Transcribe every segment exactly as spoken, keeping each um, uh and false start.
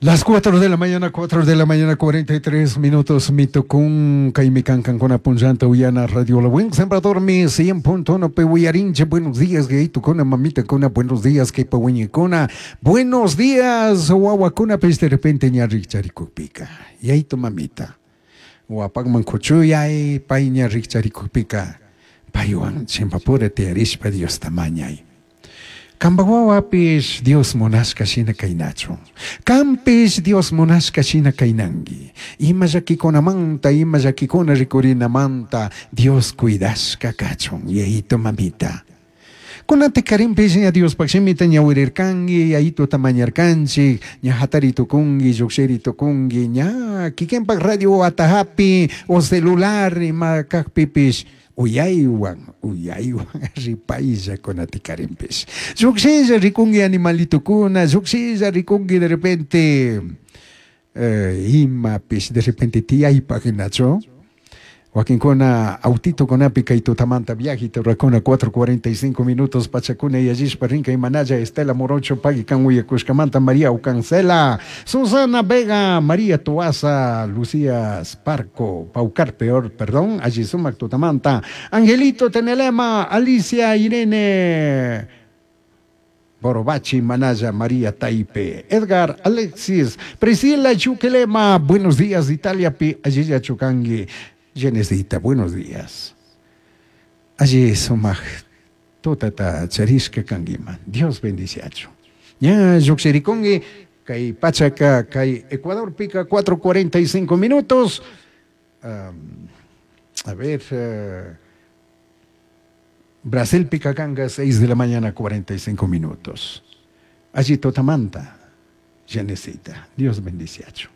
Las cuatro de la mañana, cuatro de la mañana, cuarenta y tres minutos, mitokun, kaymi kankankuna punllanta uyana Radio La Buen Sembrador, mi cien punto uno pi uyarinche. Buenos días, kuna, mamita kuna, buenos días, kay kuna, buenos días, wawakuna, pues de repente ña rikcharikukpika, yayito mamita, wapakman kuchuyay, pay ña rikcharikukpika, paywan chimpapura tiyarishpa Diosta mañay. Kamba wawapish Dios munashka shina kaynachun. Kampish Dios munashka shina kaynangi. Ima llakikunamanta, ima llakikuna rikurinamanta Dios cuidashka kachun, yayito mamita. Kunanti karinpish ña Diospaj shimita ñawirirkanki, yayituta mañarkanchik, ña hatari tukunki, llukshiri tukunki, ña kikinpak radio atajapi o celular ima kakpipish uyaywan, uyaywan ripaylla kunati karinpish. Llukshilla rikunki animalitukuna, llukshilla rikunki de repente eh, imapish de repente tiyaypaj hinachu. Wakinkuna autitokunapi kay tutamanta viajita rurakuna, cuatro cuarenta y cinco minutos pachakuna yallishpa rinka. Imanalla Estela Morocho pagui kan uyakushkamanta, María Ucancela, Susana Vega, María Tuaza, Lucía Sparco, Paucar peor, perdón, allí sumak tutamanta, Angelito Tenelema, Alicia Irene Borobachi, Manaya, María Taipe, Edgar Alexis, Priscila Chuquelema, buenos días, Italia, pi, allí Chucangui, Genesita, buenos días. Allí sumaj tutata charishka kanguiman. Dios bendiciachu. Ña llukshirikungi, kay pachaka, kay Ecuador pica cuatro cuarenta y cinco minutos. Um, a ver, uh, Brasil pica kanga seis de la mañana cuarenta y cinco minutos. Allí totamanta, Genesita. Dios bendiciachu.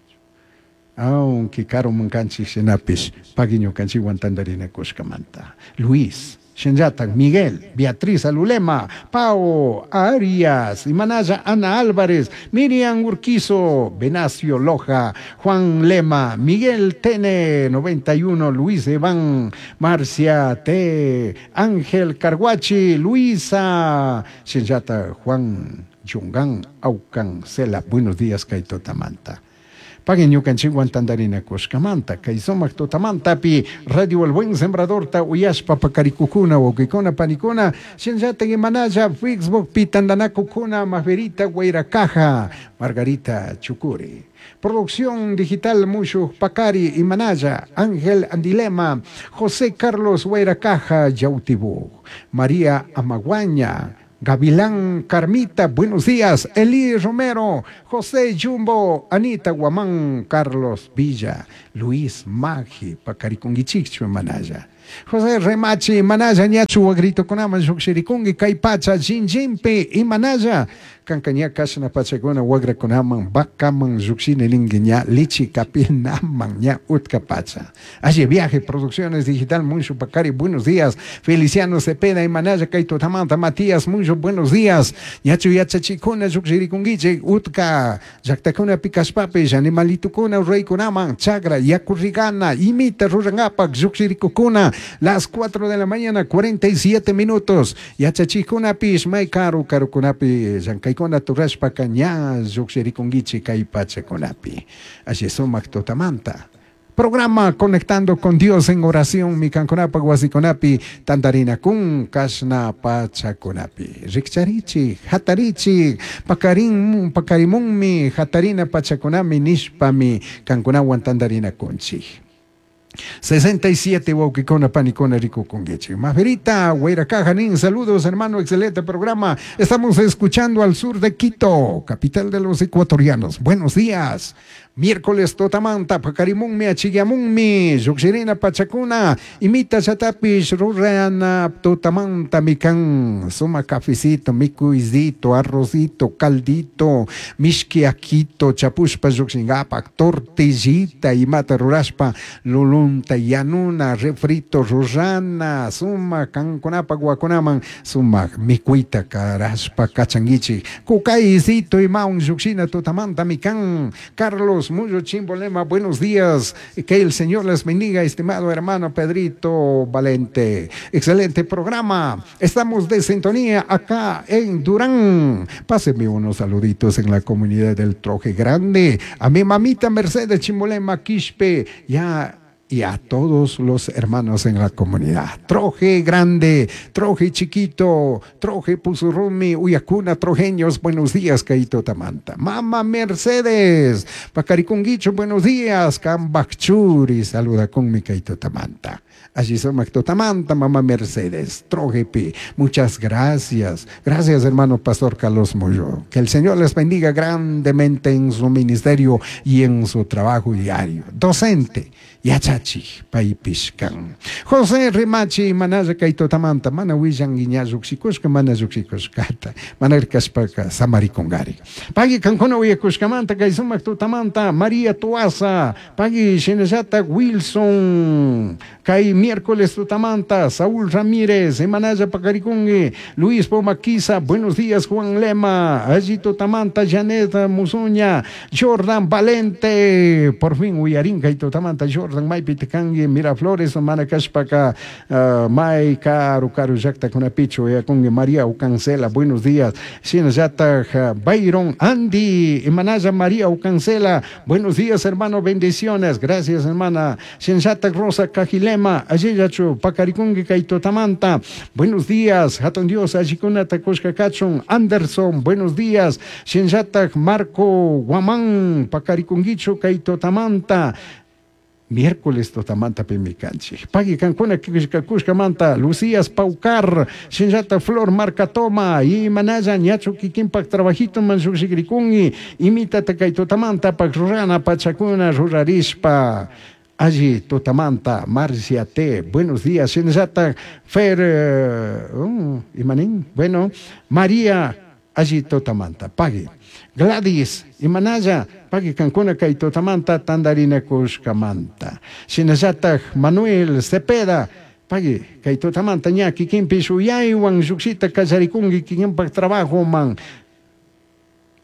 Aunque karuman kanchik shinapish pagui ñukanchikwan tantarinakushkamanta. Luis, shinllatak Miguel, Beatriz Alulema, Pao Arias, Imanaya Ana Álvarez, Miriam Urquizo, Venacio Loja, Juan Lema, Miguel Tene, noventa y uno, Luis Iván, Marcia T, Ángel Carguachi, Luisa, shinllata Juan Yungan, Aucan, Cela, buenos días, kay tutamanta. Paguen ñukanchikwan tantarinakushkamanta, kay sumak tutamantapi Radio El Buen Sembrador ta uyashpa pakarikukuna, wawkikuna, panikuna, shinllatak imanalla Facebook pi tantanakukuna, Maferita Guairacaja, Margarita Chucuri. Producción digital Mushu Pacari, Imanaya, Ángel Andilema, José Carlos Guairacaja, Yautibú, María Amaguaña, Gavilán Carmita, buenos días. Eli Romero, José Jumbo, Anita Guamán, Carlos Villa, Luis Magi, Pacarikungichichu Manaya. José Remachi, Manaya, ñachu wagritokunaman llukshirikunki, kay pacha, Jinjimpi, Imanaya. Kanka ña kashna pachakuna wagrakunaman, vacaman llukshini ninki ña lichi kapinaman ña utka pacha. Allí viaje, producciones digital, Mucho Pacari, buenos días. Feliciano Cepeda, Imanaya, kay tutamanta, Matías, mucho buenos días. Ñachu yachachikuna llukshirikunkichik, utka, llaktakuna pikashpapish, animalitukuna, reykunaman, chagra, yakurrigana, imita rurangapak, llukshirikukuna, las cuatro de la mañana, cuarenta y siete minutos. Yachachikunapish, may karu karukunapi, llankaykuna turashpaka ña llukshirikunkichik kay pachakunapi. Allí sumak tutamanta. Programa Conectando con Dios en Oración, mi kankunapa wasikunapi, tantarinakun, kashna pachakunapi. Rikcharichi, hatarichi, pakarin, pakarimunmi, hatarina pachakunami, nishpami, kankunawan tantarinakunchik. sesenta y siete wawkikuna panikuna rikukunkichik. Maferita, Guairacaja, saludos hermano, excelente programa. Estamos escuchando al sur de Quito, capital de los ecuatorianos. Buenos días. Miércoles tutamanta, pakarimunmi, achiyamunmi, llukshirina pachakuna, imita chatapish, rurana tutamanta, mikan, suma cafecito, mikuizito, arrocito, caldito, mishki akito, chapushpa llukshingapak, tortillita, imata rurashpa, lulunta, yanuna, refrito, rurana, suma, kankunapak, wakunaman, suma, mikuita, karashpa, kachanguichi, kukaysito, imaun, llukshina tutamanta, mikan, Carlos Carlos Mullo Chimbolema, buenos días. Que el Señor les bendiga, estimado hermano Pedrito Valente. Excelente programa. Estamos de sintonía acá en Durán. Pásenme unos saluditos en la comunidad del Troje Grande. A mi mamita Mercedes Chimbolema Quispe. Ya y a todos los hermanos en la comunidad. Troje Grande, Troje Chiquito, Troje Pusurrumi, Uyacuna, Trojeños, buenos días, Kaito Tamanta. Mama Mercedes, Pacaricunguicho, buenos días, Cambachuri, saluda con mi Kaito Tamanta. Allí somos Totamanta, Mamá Mercedes, Troje Pi. Muchas gracias. Gracias, hermano Pastor Carlos Moyo. Que el Señor les bendiga grandemente en su ministerio y en su trabajo diario. Docente, yachachi, paypishkan. José Rimachi, manaya kaytutamanta, mana willanki ña lluqshikushka, mana lluqshikushkata, mana kashpaka samarikungari. Pagui kankuna uyakushkamanta, kay sumak tutamanta, María Tuaza, pagui shinallata Wilson, kay miércoles tutamanta, Saúl Ramírez, Emanaya Pacarikungi, Luis Pomaquiza, buenos días Juan Lema, allí tutamanta, Janet Musuña, Jordan Valente, por fin uyarin kay tutamanta, Jordan Maypitikangi, Miraflores, mana kashpaka, uh, may karu karu llaqtakunapichu uyakungi, María Ucancela, buenos días, shinallata Byron Andy, Emanaya María Ucancela, buenos días hermano, bendiciones, gracias hermana, shinallata Rosa Cajilema, allillachu Pacarikungi kay tutamanta, buenos días, hatun Dios, allikunata kushkakachun, Anderson, buenos días, shinallata Marco Guamán, Pacarikunguichu kay tutamanta, miércoles tutamanta pimikanchik. Pagui kankuna kushkamanta, Lucías Paucar, shinllata Flor Marcatoma, y manaya ñachu kikinpak trabajito man lluqshikrikunki, imitata kay tutamanta pak rurana pachakuna rurarishpa. Allí tutamanta, Marcia T, buenos días, shinllata Fer, uh, imanin, bueno, María, allí tutamanta, pagui. Gladys, imanaya, pagui kankuna kay tutamanta, tandarina kushkamanta. Shinallata Manuel Cepeda, pagui kay tutamanta ña kikinpish uyaywan lluqshita kallarikunki kikinpak trabajo man.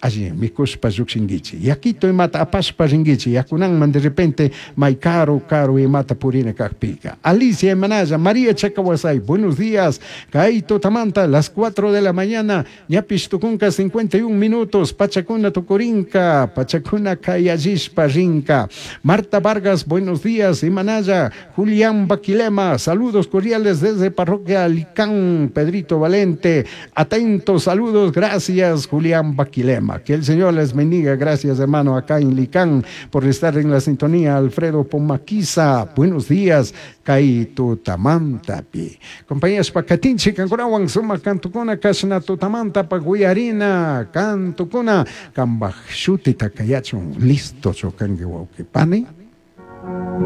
Allí, mikushpa lluqshinkichik. Yakito imata apashpa rinkichik. Yakunanman de repente may karu karu imata purina kaqpika. Alicia Emanaya, María Chacahuasay, buenos días. Kay tutamanta, las cuatro de la mañana, ñapish tukunka cincuenta y un minutos, pachakuna tukurinka, pachakuna kayallishpa rinka. Marta Vargas, buenos días. Emanaya, Julián Baquilema, saludos cordiales desde Parroquia Licán, Pedrito Valente. Atentos, saludos, gracias, Julián Baquilema. Que el Señor les bendiga. Gracias, hermano, acá en Licán, por estar en la sintonía. Alfredo Pomaquiza, buenos días. Kay tutamantapi. Compañías Pacatinchi, kankunawan suma kantukuna, kashna tutamanta, paguyarina, kantukuna, kambaj shuti takayachun, listo, chokangi wauki pani.